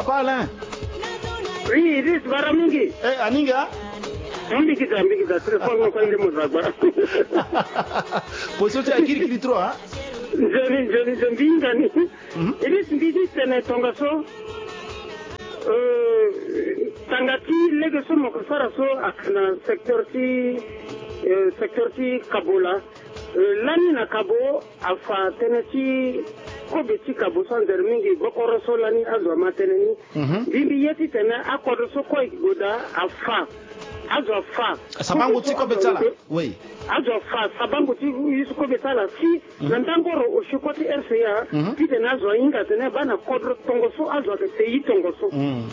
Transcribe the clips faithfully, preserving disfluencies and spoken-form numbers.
Papa Alain. Oui, Idriss, bara mingi. Eh, aninga? Mingi da, mingi da, téléphone mo kande mo zagba. Position ti akirikiri trop, hein? Nzoni, nzoni, nzoni, mingi ni. Mhm. Idriss, mbi ti tene tongaso. Euh, tanga ti lege so mo ko sara so ayeke na secteur ti, euh, secteur ti Kabo laa. Euh, lani na Kabo afa tënë ti kobe ti Kabo so anzere mingi gbokoro so lani azo ama tënë ni. Mhm. Mbi mbi ye titene akodro so kue ayeke gue daa afa. Azo afa. Sabango ti kobe ti ala. Oui. Azo afa sabango ti ye so kobe ti ala si na ndangoro osio kue ti R C A. Mhm. Titene azo ahinga atene baa na kodro tongaso azo ayeke te ye tongaso. Mhm.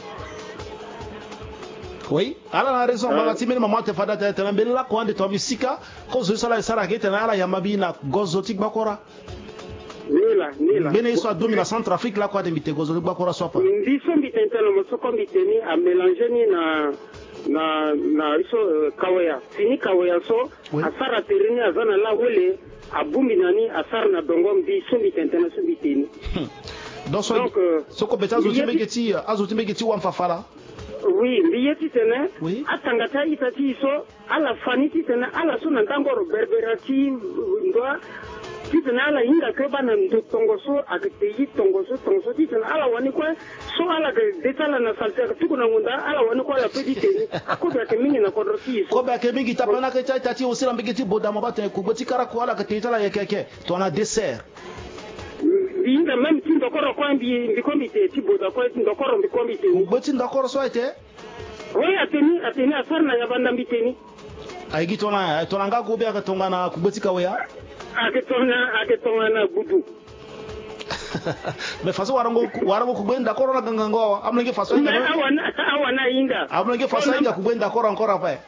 Oui. Ala na raison, euh, ngbanga ti mbeni mama ate fade ate tene mbeni lakue ande tongana mbi sika. Kozo ye so ala e sara ayeke tene ala yamba mbi na gozo ti gbakora. Ni la, ni la. Mbeni ye so adomi na Centrafrique lakue ande mbi te gozo ti gbakora so ape. Mbi so mbi tene tene mo so kue mbi te ni amélange ni na, na, na ye so, euh, kaweya. Fini kaweya so, oui, asara tere ni aza na lawele, abongbi na ni asara na dongo mbi so mbi tene tene so mbi te ni. Hmm. Donc, so, donc, euh, so kobe ti azo ti mbege ti, azo ti mbege ti wamfafala. Oui, mbi ye titene, oui, atanga ti a-ita ti e so, ala fa ni titene ala so na ndangoro berbera ti, euh, ndoa, titene ala hinga kue baa na ndo tongaso ayeke te ye tongaso, tongaso titene ala wani kue so ala yeke de ti ala na salte ayeke tuku na ngonda, ala wani kue ala pe ti te ni. Akobe ayeke mingi na kodro ti e so. Kobe ayeke mingi tapana kue ti a-ita ti e aussi na mbege ti Bodama baa tene kugbe ti kara kue ala yeke te ye ti ala yeke yeke. Tongana dessert. Mbi hinga même ti ndokoro kue mbi, mbi kue mbi te, ti Boda kue ti ndokoro mbi kue mbi te ni. Kugbe ti ndokoro so aye te? Oui, ate ni, ate ni asara na yabanda mbi te ni. Aye gi tongana, aye tongana nga gobe ayeke tongana kugbe ti kaweya? Ayeke tongana, ayeke tongana gudu. Mais façon warango, warango kugbe ndokoro na gangango awa. Amolenge façon. Mais awa na, awa na ahinga. Amolenge façon ahinga kugbe ndokoro encore ape.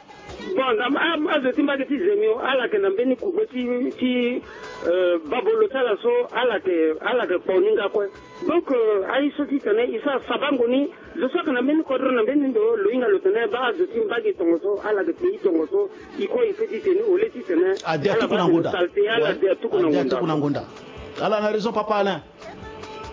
Bon, na, a, azo ti mbage ti Zemio, ala yeke na mbeni kugbe ti, ti, euh, babolo ti ala so, ala yeke, ala yeke kpo ni nga kue. Donc, euh, aye so titene e sara sabango ni, zo so ayeke na mbeni kodro na mbeni ndo, lo hinga lo tene baa azo ti mbage tongaso, ala yeke te ye tongaso, e kue e pe ti te ni, au lieu titene, ade atuku na ngonda. Ala baa tene salte, ala de atuku na ngonda. Ala na raison, papa Alain.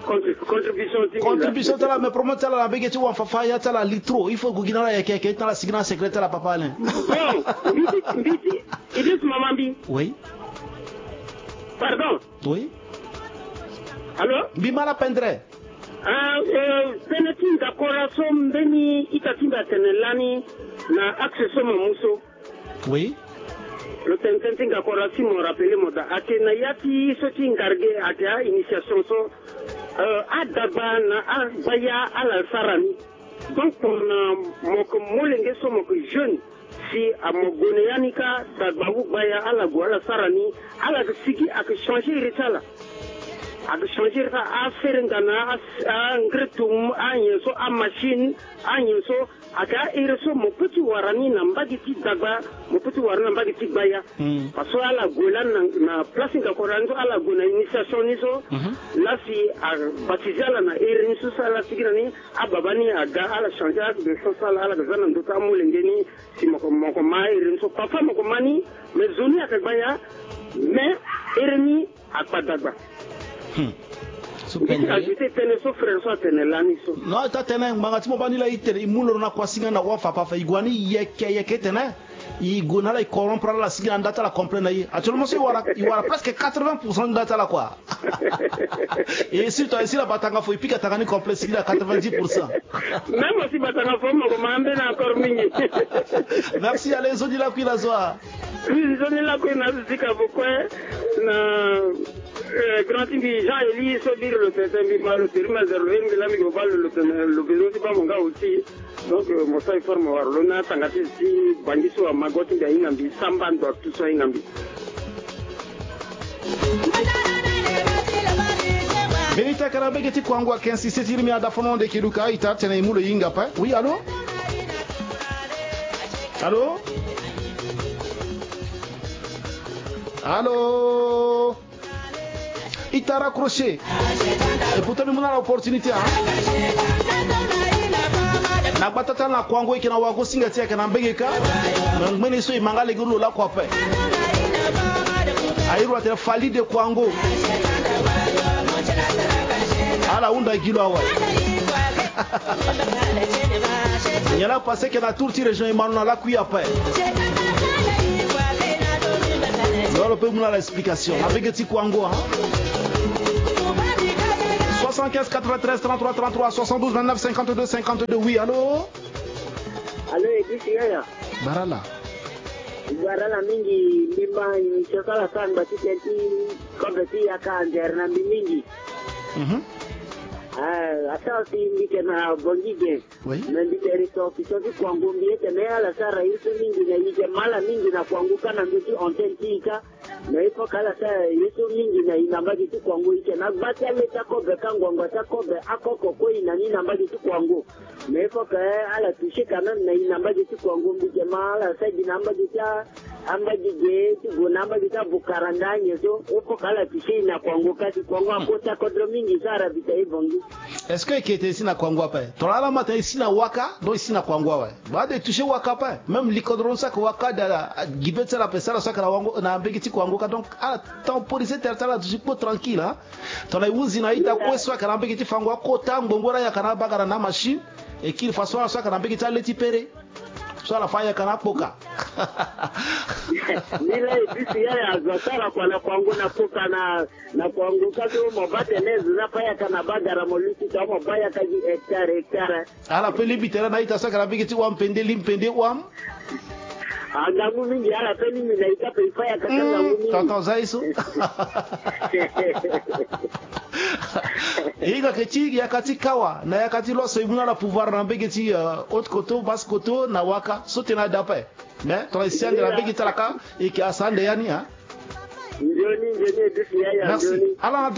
Contri-, contribution ti, contribution ti ala, mais problème ti ala na mbege ti wamfafa ya ti ala li trop. Il faut gue gi na ala yeke yeke ti na ala sigi na secret ti ala, papa Alain. Bon, mbi ti, mbi ti, Idriss, mama mbi. Oui. Pardon. Oui. Allô? Mbi ma ala pendere. Ah, euh, tënë ti ndakora so mbeni ita ti mbi atene lani na axe so mo mu so. Oui. Lo tene tënë ti ngakora si mo rappele mo daa. Ayeke na ya ti so ti ngarge ayeke a-initiation so, euh, adagba na agbaya ala sara ni. Donc, tongana mo yeke molenge so mo yeke jeune, si a mo gue na ya ni kâ, dagba ou gbaya ala gue ala sara ni, ala yeke sigi ayeke changer iri ti ala. Ayeke changer iri ti ala, afere nga na a, angretum, anyen so, amachine, anyen so, Ayeke a-iri so mo peut ti wara ni na mbage ti dagba, mo peut ti wara ni na mbage ti gbaya. Hmm. Parce que ala gue lani na, na place ti ngakora ni so, ala gue na initiation ni so. Mhm. Laa si abaptisé ala na iri ni so, si ala sigi na ni, ababa ni aga, ala changé acte de naissance ti ala, ala ga za na ndö ti amolenge ni, si mo ko, mo ko ma iri ni so. Parfois mo ko ma ni, mais zo ni ayeke gbaya, mais iri ni akpa dagba. Hmm. So, i ti pendere. Ajouté tënë so frère so atene lani so. Non, ita tene ngbanga ti mo baa ni laa i tene i mu loro na kuasinga na wafa ape afa, i gue ni yeke yeke tene i gue na ala, i corrompre ala, sigi na nda ti ala complet na i. Actuellement so i wara, i wara presque quatre-vingts pour cent nda ti ala quoi. Et surtout, si la batanga fo, i pika tanga ni complet, sigi na quatre-vingt-dix pour cent. Même aussi batanga fo mo ko ma ambeni encore mingi. Merci, allez, nzoni lakui na zo wa. Nzoni lakui na zo ti Kabo kue na, euh, grand ti mbi Jean Élie so biri lo tene tene mbi ma lo teri ma zero lo ye mbi laa mbi ko baa lo lo tene lo bezo ti baa mo nga aussi. Donc, euh, mo sara effort mo wara lo na tanga ti, ti bangi so amago ti mbi ahinga mbi, samba ndo atu so ahinga mbi. Mbeni ita ayeke na mbage ti Kouango ayeke insisté ti iri mbi na da fono ande keduka ita tene e mu lo e hinga ape. Oui, allô? Allô? Allô? Ita raccroché. Et pourtant mbi mu na ala opportunité, hein. Na gbata ti ala na Kouango, e yeke na wago singa ti e ayeke na mbage kâ. Mais ngbene so e ma nga lege lo lakue ape. Aye lo atene Fally de Kouango. Ala hunda gi lo awe. Nyen la passé ke na tour ti région Imanu na lakui ape. Lolo pe mu na la explication na mbege ti Kwango, hein. Soixante-quinze quatre-vingt-treize trente-trois trente-trois, soixante-douze vingt-neuf cinquante-deux cinquante-deux. Oui, allô? Allô, Edith Yaya. Barala. Barala mingi, mbi ma émission so ala sara ngba ti tënë ti kobe ti yaka andere na mbi mingi. Mhm. Ah, ata aussi mbi yeke na Bongi ge. Oui. Me mbi yeke ressortissant ti Kwango, mbi yeke me ala sara ye so mingi na, e yeke ma ala mingi na Kwango ka na ndö ti antenne ti e ka. Mais il faut que ala sara ye so mingi na e na mbage ti Kwango, e yeke na gba ti ale ti akobe ka, ngbangba ti akobe, akoko kue e na ni na mbage ti Kwango. Mais il faut que ala toucher quand même na e na mbage ti Kwango, mbi yeke ma ala sara gi na mbage ti a, ambage ge ti gue na ambage ti abukaranda nyen so. Il faut que ala toucher e na Kwango ka, si Kwango akota kodro mingi so ara bita e Bongi. Est-ce que e yeke tene si na Kwango ape? Tongana ala ma tene e si na Waka, donc e si na Kwango awe. Ba de toucher Waka ape. Même likodro so ayeke Waka da, gi be ti ala ape, si ala so ayeke na wango, na mbage ti Kwango ka, donc ala temporiser tere ti ala, toucher kpo tranquille, hein. Tongana e hunzi na ita kue so ayeke na mbage ti Fango akota ngbongo, ala yaka na abagara na amachine. E kiri façon ala so ayeke na mbage ti ale ti Pere. So ala fa yaka na akpoka. Ni la e bisi ya, ya zo asara kua na Kwango na kpoka na, na Kwango ka so mo baa tene zo ni afa yaka na bagara, mo luti ta mo baa yaka gi hectare, hectare. Ala pe lingbi tene na ita so ayeke na mbage ti Ouham Pende, Lim Pende, Ouham. Ah, ngangu mingi, ala pe lingbi na ita pe e fa yaka ka, hmm, ngangu mingi. Tonton Zaisu. E hinga ke ti yaka ti Kawa na yaka ti Loso, e mu na ala pouvoir na mbage ti, euh, Haute Koto, Basse Koto na Waka. So tene ade ape. Mais tongana e si ande na mbage ti ala ka, e yeke asa ande ya ni, hein. Nzoni, nzoni, e duti ya, ya, merci. Nzoni. Ala na droit